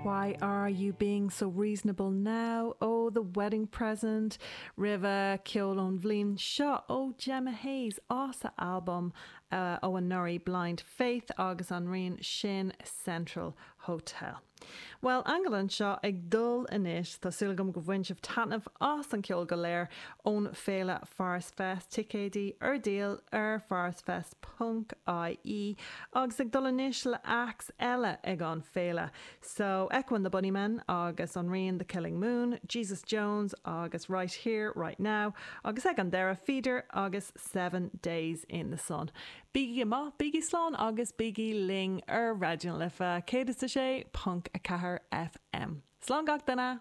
Why Are You Being So Reasonable Now? ó The Wedding Present, roimhe ceol ón bhliain seo ó Gemma Hayes as a albam ó anuraidh Blind Faith agus an rian sin Central Hotel. Bhuel, Aingeal anseo ag dul anois. Tá súil agam go bhain sibh taitneamh as an ceol go léir ón féile Phorus Fest, ticéidí ar díol ar phorusfest ponc ie, agus ag dul anois le acts eile ag an féile. So, Echo and the Bunnymen agus an rian The Killing Moon, Jesus Jones agus Right Here, Right Now, agus ag an deireadh Feeder agus 7 Days in the Sun. Bígí go maith, bígí slán agus bígí linn ar Raidió na Life 106.4 FM. Slán gach duine!